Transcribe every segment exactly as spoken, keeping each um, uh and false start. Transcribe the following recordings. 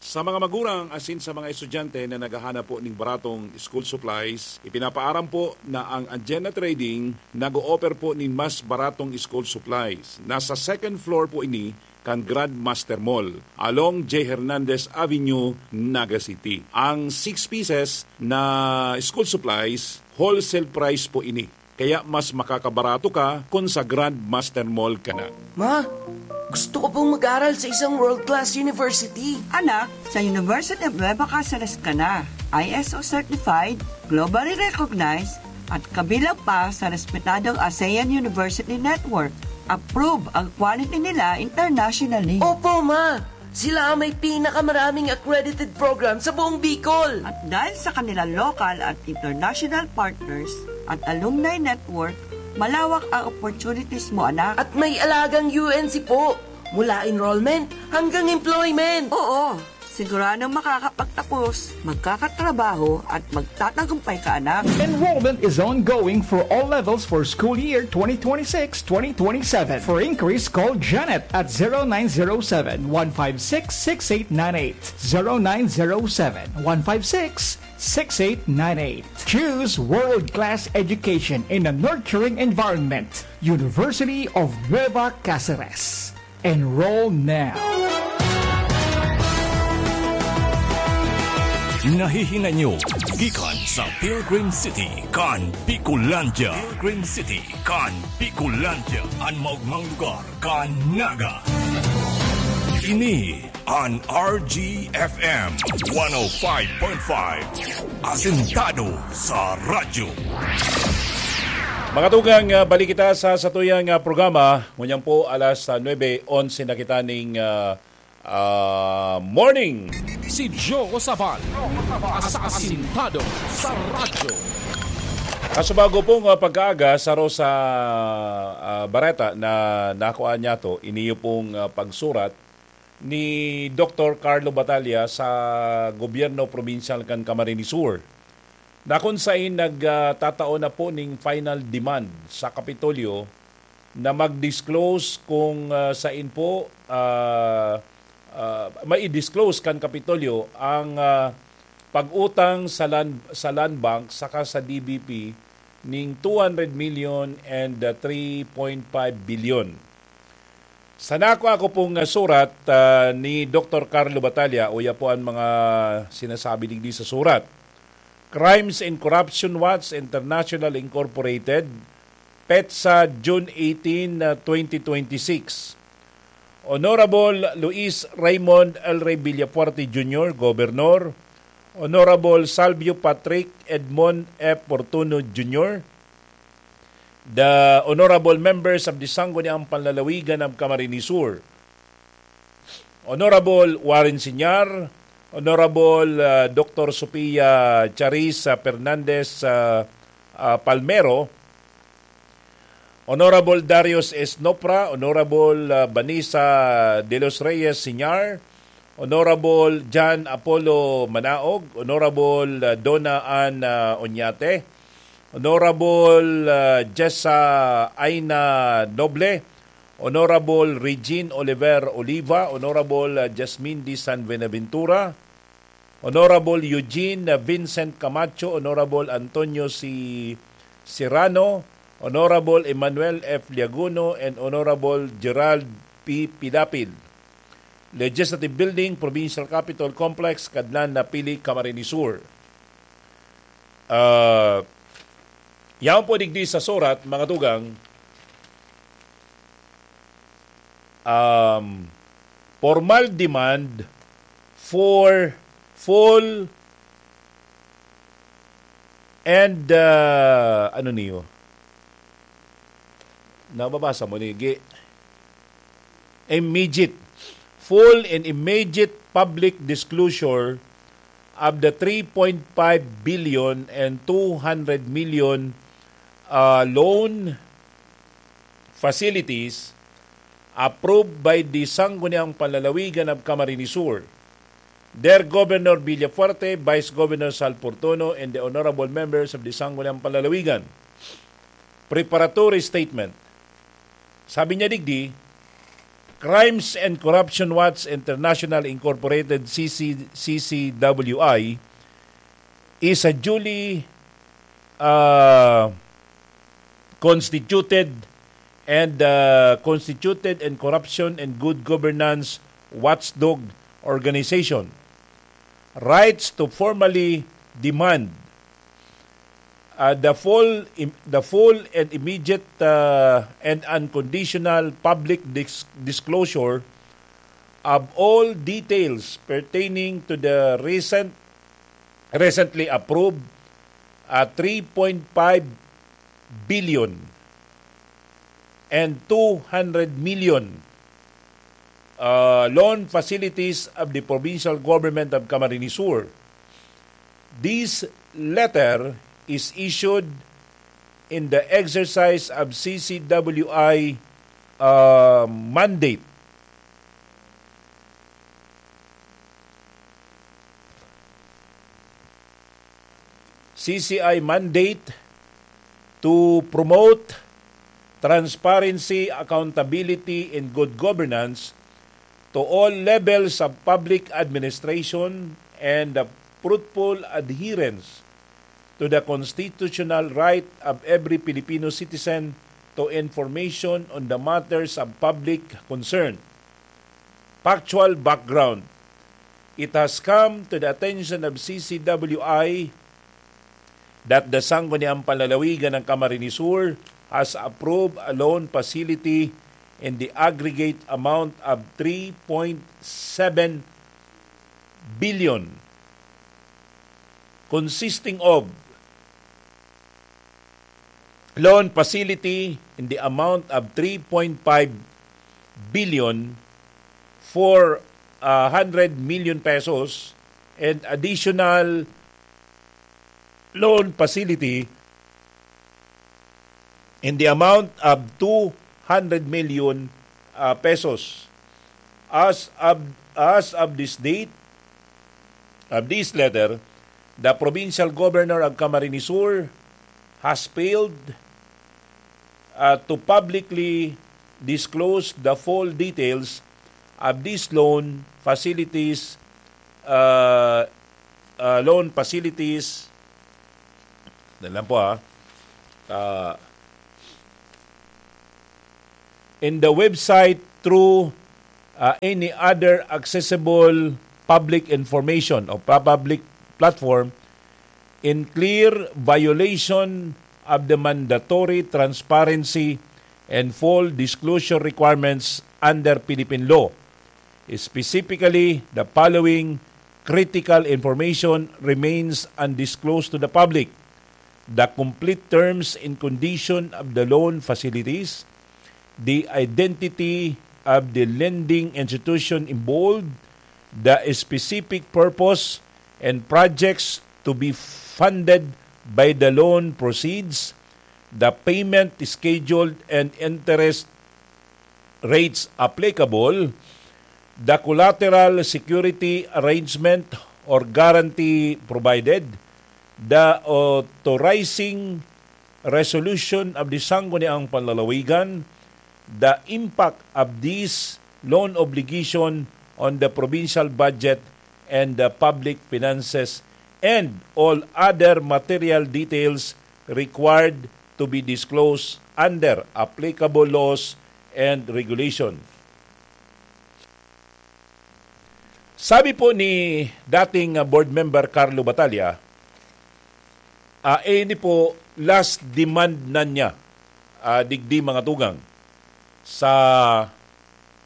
Sa mga magurang asin sa mga estudyante na naghahanap po ning baratong school supplies, ipinapaaram po na ang Agenda Trading nag-o-offer po nin mas baratong school supplies. Nasa second floor po ini kan Grandmaster Mall, along J Hernandez Avenue, Naga City. Ang six pieces na school supplies, wholesale price po ini. Kaya mas makakabarato ka kung sa Grandmaster Mall ka na. Ma, gusto ko pong mag-aral sa isang world-class university. Anak, sa University of Nueva Cáceres ka na. I S O certified, globally recognized, at kabilang pa sa respetadong ASEAN University Network. Approve ang quality nila internationally. Opo, ma! Sila ang may pinakamaraming accredited program sa buong Bicol. At dahil sa kanilang local at international partners at alumni network, malawak ang opportunities mo, anak. At may alagang U N C po, mula enrollment hanggang employment. Oo, siguradong makakapagtapos, magkakatrabaho at magtatagumpay ka, anak. Enrollment is ongoing for all levels for school year twenty twenty-six twenty twenty-seven. For inquiries, call Janet at zero nine zero seven, one five six, six eight nine eight. Zero nine zero seven, one five six, six eight nine eight. Choose world-class education in a nurturing environment. University of Nueva Cáceres. Enroll now. Nahihinay nyo gikan sa Pilgrim City kan Bicolandia. Pilgrim City kan Bicolandia, an maogmang lugar kan Naga. Ini an R G F M one oh five point five. Asentado sa radyo. Mga tugang, ah, balik kita sa satuyang, ah, programa. Ngunyan po, alas, ah, nuebe onse na kita ning, ah, ah, morning. Si Joe Sabal, asasintado sa radyo. Kaso bago pong, ah, pagkaaga, saro sa, ah, bareta na nakuha niya to, iniyo pong, ah, pagsurat ni Doktor Carlo Batalla sa gobyerno probinsyal kan Camarines Sur, na kun sain nag, ah, tatao na po ning final demand sa Kapitolyo na mag-disclose kung, ah, sain po, ah, ah, mai-disclose kan Kapitolyo ang, ah, pag-utang sa land, sa Land Bank saka sa D B P ning two hundred million and, ah, three point five billion. Sa nakuha ko pong, ah, surat, ah, ni Doktor Carlo Batalla, uya po ang mga sinasabi digdi sa surat. Crimes and Corruption Watch International Incorporated, petsa June eighteen, ah, twenty twenty-six. Honorable Luis Raymond El Rey Villafuerte Junior, Gobernador, Honorable Salvio Patrick Edmond F. Fortuno Junior, the honorable members of the Sangguniang Panlalawigan of Camarines Sur, Honorable Warren Siñar, Honorable, ah, Doktor Sophia Charisse, ah, Fernandez, ah, ah, Palmero, Honorable Darius Esnopra, Honorable, ah, Vanessa de los Reyes Siñar, Honorable John Apollo Manaog, Honorable, ah, Donna Ann, ah, Oñate, Honorable, ah, Jessa Aina Noble, Honorable Regine Oliver Oliva, Honorable, ah, Jasmine D. San Buenaventura, Honorable Eugene, ah, Vincent Camacho, Honorable Antonio C. Serrano, Honorable Emmanuel F. Liaguno, and Honorable Gerald P. Pilapil. Legislative Building, Provincial Capitol Complex, Cadlan, Napili, Camarines Sur. Ah, yaon po digdi sa surat, mga tugang, um, formal demand for full and, ah, ano niyo? Nababasa mo ni Gi? Immediate. Full and immediate public disclosure of the three point five billion and two hundred million, ah, loan facilities approved by the Sangguniang Panlalawigan of Camarines Sur, their Governor Villafuerte, Vice Governor Sal Fortuno, and the honorable members of the Sangguniang Panlalawigan. Preparatory statement. Sabi niya digdi, Crimes and Corruption Watch International Incorporated, C C, C C W I, is a duly, uh, constituted and, uh, constituted and corruption and good governance watchdog organization, rights to formally demand, uh, the full im-, the full and immediate, uh, and unconditional public dis-, disclosure of all details pertaining to the recent, recently approved, uh, three point five billion and two hundred million, uh, loan facilities of the provincial government of Camarines Sur. This letter is issued in the exercise of C C W I, uh, mandate. C C I mandate to promote transparency, accountability, and good governance to all levels of public administration and the fruitful adherence to the constitutional right of every Filipino citizen to information on the matters of public concern. Factual background. It has come to the attention of C C W I that the Sangguniang Panlalawigan ng Camarines Sur has approved a loan facility in the aggregate amount of three point seven billion, consisting of loan facility in the amount of three point five billion, four hundred million pesos, and additional loan facility in the amount of two hundred million, uh, pesos. As of, as of this date, of this letter, the provincial governor of Camarines Sur has failed, uh, to publicly disclose the full details of these loan facilities, uh, uh, loan facilities. Dali lang po, ha. Uh, in the website through, uh, any other accessible public information o public platform in clear violation of the mandatory transparency and full disclosure requirements under Philippine law. Specifically, the following critical information remains undisclosed to the public: the complete terms and condition of the loan facilities, the identity of the lending institution involved, the specific purpose and projects to be funded by the loan proceeds, the payment schedule and interest rates applicable, the collateral security arrangement or guarantee provided, the authorizing resolution of the Sangguniang Panlalawigan, the impact of this loan obligation on the provincial budget and the public finances, and all other material details required to be disclosed under applicable laws and regulation. Sabi po ni dating, ah, board member Carlo Batalla, ah, ini po last demand na niya, ah, digdi, mga tugang, sa,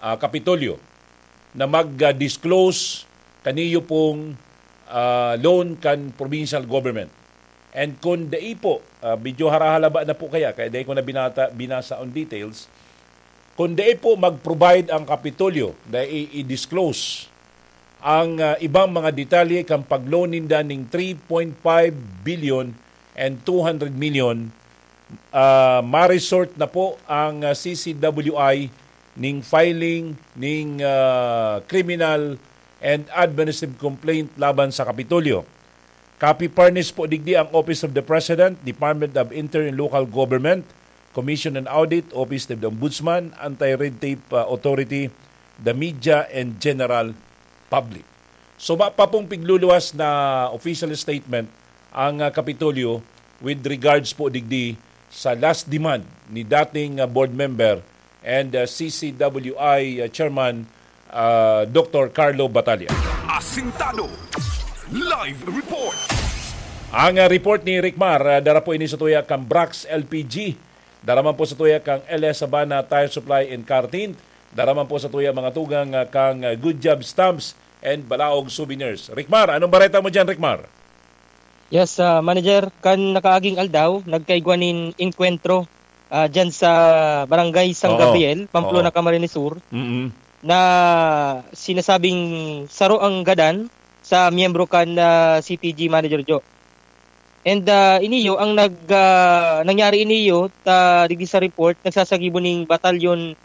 ah, Kapitolyo na mag-disclose kaniyo pong, ah, loan kan provincial government. And kung dai po, ah, medyo harahalaba na po kaya, kaya dai ko na binata-, binasa on details, kung dai po mag-provide ang Kapitolyo na i-, i-disclose ang, ah, ibang mga detalye kan pag-loan ninda ning three point five billion and two hundred million, ah, ma-resort na po ang, ah, C C W I ning filing ning, ah, criminal and administrative complaint laban sa Kapitolyo. Copy furnished po digdi ang Office of the President, Department of Interior and Local Government, Commission on Audit, Office of the Ombudsman, Anti-Red Tape, ah, Authority, the media, and general public. So, wa pa pong pigluluwas na official statement ang, ah, Kapitolyo with regards po digdi sa last demand ni dating, ah, board member and, ah, C C W I, ah, Chairman, ah, Doctor Carlo Batalla. Asintado. Live report. Ang, ah, report ni Rick Mar, ah, dara po ini sa tuya kang Brax L P G. Dara man po sa tuya kang L S Sabana Tire Supply and Car Tint. Dara man po sa tuya mga tugang, ah, kang, ah, Good Job Stamps and Balaog Souvenirs. Rick Mar, anong bareta mo dyan, Rick Mar? Yes, ah, Manager, kan nakaaging aldaw, nagkaigwa nin engkwentro, ah, dyan sa Barangay San Oo. Gabriel, Pamplona, Oo. Camarines Sur, Mm-mm. na sinasabing saro ang gadan sa miyembro kan, ah, C P G, Manager Jo. And, ah, iniyo ang nag-, ah, nangyari iniyo ta digdi sa report, nagsasagibo ning batalyon,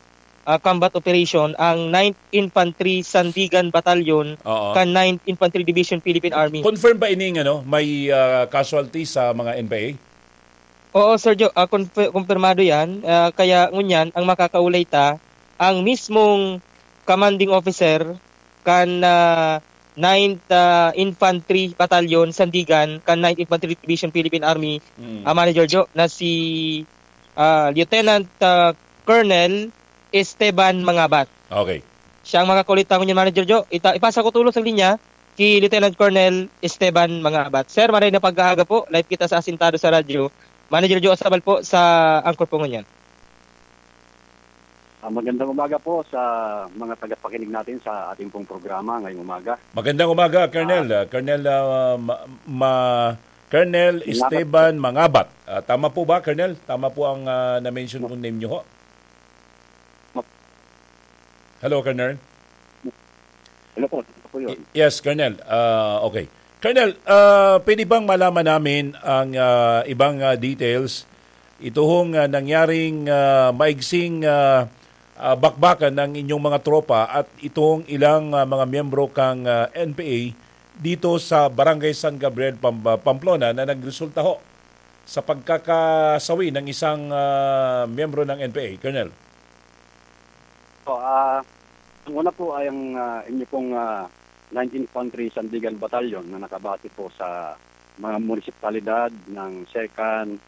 ah, combat operation ang Ninth Infantry Sandigan Battalion Oo. kan Ninth Infantry Division Philippine Army. Confirm ba ining, ano, may, ah, casualty sa mga N P A? Oo, Sir Jo, ah, konfi-, kumpirmado 'yan. Ah, kaya ngunyan ang makakaulay ta, ang mismong commanding officer kan, ah, Ninth, ah, Infantry Battalion, Sandigan, kan Ninth Infantry Division, Philippine Army, Mm. ah, Manager Jo, na si, ah, Lieutenant, ah, Colonel Esteban Mangabat. Okay. Siya ang makakaulay ta ngunyan, Manager Jo. Ita-, ipasa ko tulos ang linya ki Lieutenant Colonel Esteban Mangabat. Sir, maray na pag-aaga po. Live kita sa Asintado sa Radyo. Manager Jo Asabal po sa anchor po ngunyan. Ah, magandang umaga po sa mga tagapakinig natin sa ating pong programa ngayong umaga. Magandang umaga, Colonel. Ah. Ah, Colonel, ah, ma-, ma-, Colonel Mangabat Esteban po. Mangabat. Ah, tama po ba, Colonel? Tama po ang, ah, na-mention kong name nyo ho? Map- Hello, Colonel? Hello po, ito po yun. Y-, yes, Colonel. Ah, okay. Colonel, ah, pwede bang malaman namin ang, ah, ibang, ah, details? Ito hong, ah, nangyaring, ah, maigsing, ah, ah, bakbakan ng inyong mga tropa at itong ilang, ah, mga miyembro kang, ah, N P A dito sa Barangay San Gabriel, Pam-, ah, Pamplona na nagresulta ho sa pagkakasawi ng isang, ah, miyembro ng N P A, Colonel? Po, ah, ang una po ay ang, ah, inyo pong, ah, Ninth Infantry Sandigan Battalion na nakabase po sa mga munisipalidad ng Second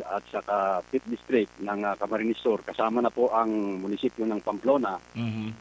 at saka Fifth District ng, ah, Camarines Sur. Kasama na po ang munisipyo ng Pamplona. Mhm.